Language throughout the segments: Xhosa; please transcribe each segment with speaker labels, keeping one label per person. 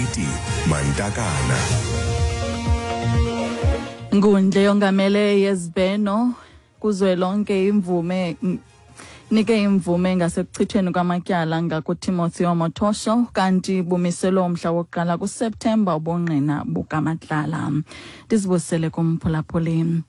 Speaker 1: Mapiti Mantakana.
Speaker 2: Inkundla yongamele yezibheno kuzwelonke imvume nike imvume ngasekuchithweni kwamatyala ngakuTimothy Omotosho, kanti bumiselwe umhla wokuqala kuSeptemba ubungqina bukaMatlala. Ndizibusele kumphulaphuli.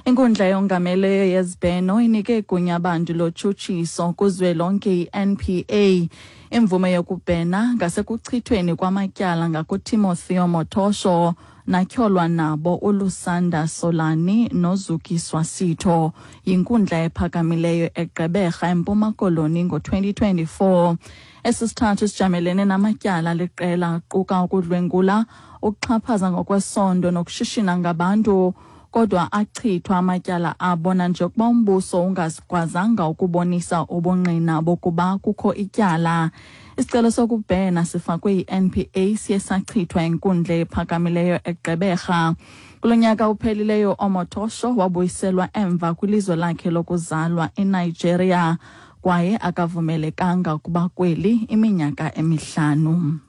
Speaker 2: Inkundla yongameleyo yezibheno inike igunya abantu lotshutshiso kuzwelonke i-NPA imvume yokubhena ngasekuchithweni kwamatyala ngakuTimothy Omotosho natyholwa nabo uLusanda Solani noZukiswa Sitho yinkundla ephakamileyo eGqeberha eMpuma Koloni ngo-2024. Esi sithathu sijamelene namatyala liqela aquka ukudlwengula, ukuxhaphaza ngokwesondo nokushishina ngabantu, kodwa achithwa amatyala abo nanjengokuba umbuso ungakwazanga ukubonisa ubungqina bokuba kukho ityala. Isicelo sokubhena sifakwe yi-NPA siye sachithwa inkundla ephakamileyo eGqeberha. Kulo nyaka uphelileyo Omotosho wabuyiselwa emva kwilizwe lakhe lokuzalwa eNigeria kwaye akavumelekanga ukuba kweli iminyaka emihlanu.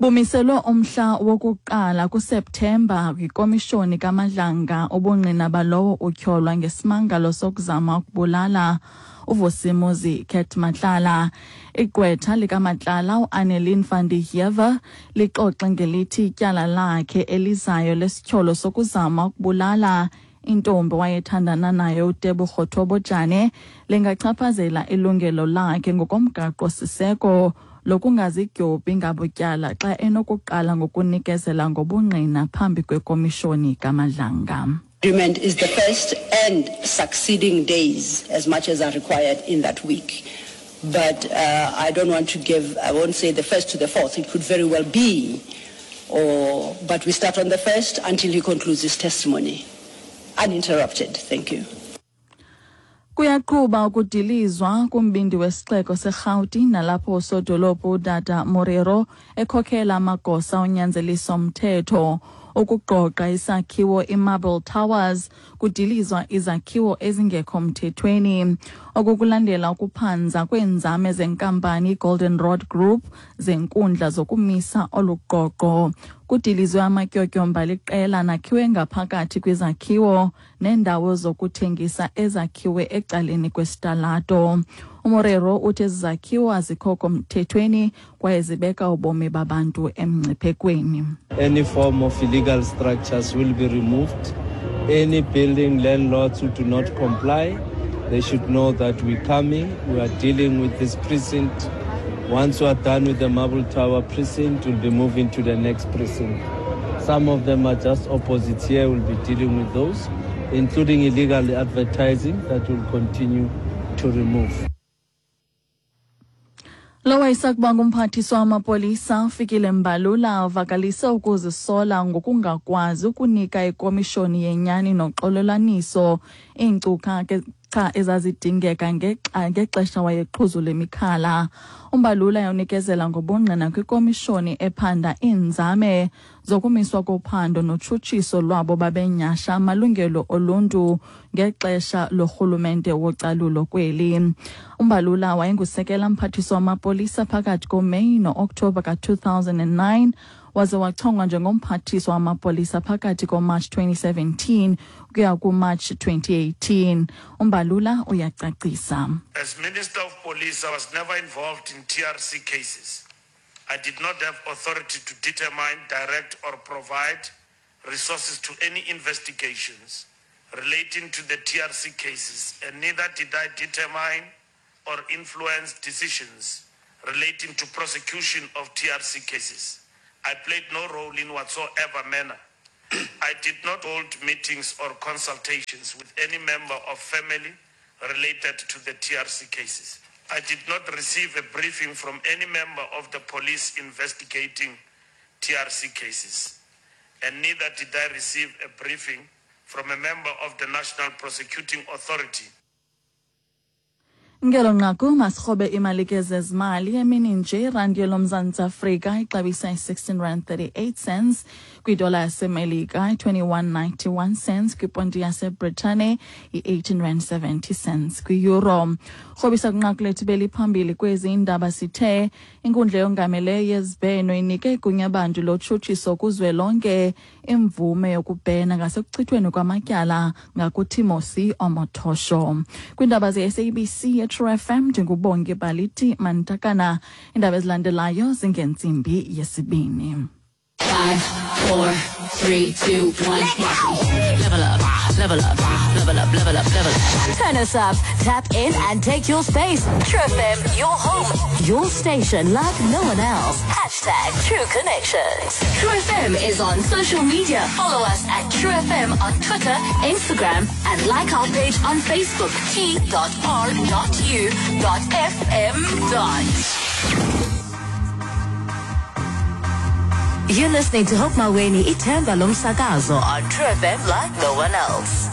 Speaker 2: Bumiselwe umhla wokuqala kuSeptemba kwikomishoni kaMadlanga ubungqina balowo utyholwa ngesimangalo sokuzama ukubulala uVusimuzi Cat Matlala. Igqwetha likaMatlala uAnnelien van der Heever lixoxe ngelithi ityala lakhe elizayo lesityholo sokuzama ukubulala intombi wayethandana nayo uTebogo Thobojane lingachaphazela ilungelo lakhe ngokomgaqo-siseko lokungazidyobhi ngabutyala xa enokuqala ngokunikezela ngobungqina phambi kwekomishoni kaMadlanga.
Speaker 3: Agreement is the first and succeeding days as much as are required in that week. But I don't want to give, I won't say the first to the fourth. It could very well be, but we start on the first until he concludes his testimony. Uninterrupted. Thank you.
Speaker 2: Kuyaqhuba ukudilizwa kumbindi wesixeko seRhawuti nalapho usodolophu uDada Morero ekhokhela amagosa onyanzeliso mthetho ukugqogqa isakhiwo iMarble Towers kudilizwa izakhiwo ezingekho mthethweni. Oku kulandela ukuphanza kweenzame zenkampani iGolden Rod Group zenkundla zokumisa olu gqogqo. Kudilizwe amatyotyomba liqela nakhiwe ngaphakathi kwizakhiwo neendawo zokuthengisa ezakhiwe ecaleni kwesitalato. UMorero uthi ezi zakhiwo azikho mthethweni kwaye zibeka ubomi babantu emngciphekweni.
Speaker 4: Any form of illegal structures will be removed. Any building landlords who do not comply, they should know that we're coming. We are dealing with this precinct. Once we are done with the Marble Tower precinct, we'll be moving to the next precinct. Some of them are just opposite here. We'll be dealing with those, including illegal advertising that we'll continue to remove.
Speaker 2: Lo wayesakuba ngumphathiswa wamapolisa uFikile Mbalula uvakalise ukuzisola ngokungakwazi ukunika ikomishoni yenyani noxolelaniso iinkcukacha ezazidingeka ngexesha wayeqhuzula imikhala. UMbalula unikezela ngobungqina kwikomishoni ephanda iinzame zokumiswa kophando notshutshiso lwabo babenyasha amalungelo oluntu ngexesha lorhulumente wocalulo kweli. UMbalula wayengusekela mphathiswa wamapolisa phakathi koMeyi no-Okthobha ka-2009 waze wachongwa njengomphathiswa wamapolisa phakathi koMarch 2017 ukuya kuMarch 2018. UMbalula uyacacisa.
Speaker 5: As Minister of Police, I was never involved in TRC cases. I did not have authority to determine, direct, or provide resources to any investigations relating to the TRC cases, and neither did I determine or influence decisions relating to prosecution of TRC cases. I played no role in whatsoever manner. I did not hold meetings or consultations with any member of family related to the TRC cases. I did not receive a briefing from any member of the police investigating TRC cases, and neither did I receive a briefing from a member of the National Prosecuting Authority.
Speaker 2: Ngelo nqaku masirhobe imali ke zezimali. Emini nje, irandi yelomzantsi Afrika ixabisa i-16 rand 38 cents kwidola yaseMelika, i-21.91 cents kwiponti yaseBritane, i-18 rand 70 cents kwi-euro. Rhobisa kwinqaku lethu beliphambili kwezi indaba, sithe inkundla yongameleyo yezibheno inike igunyabantu lotshutshiso kuzwelonke imvume yokubhena ngasekuchithweni kwamatyala ngakuTimothy Omotosho. Kwiindaba ze-SABC yeTrue FM, ndinguBongi Baliti Mantakana. Iindaba ezilandelayo zingentsimbi yesibini.
Speaker 6: 5, 4, 3, 2, 1. Level up, level up, level up, level up, level up. Turn us up, tap in and take your space. True FM, your home, your station like no one else. #TrueConnections. True FM is on social media. Follow us at True FM on Twitter, Instagram, and like our page on Facebook, t.r.u.fm. You're listening to Hope Maweni, Ithemba Lomsakazo on True FM like no one else.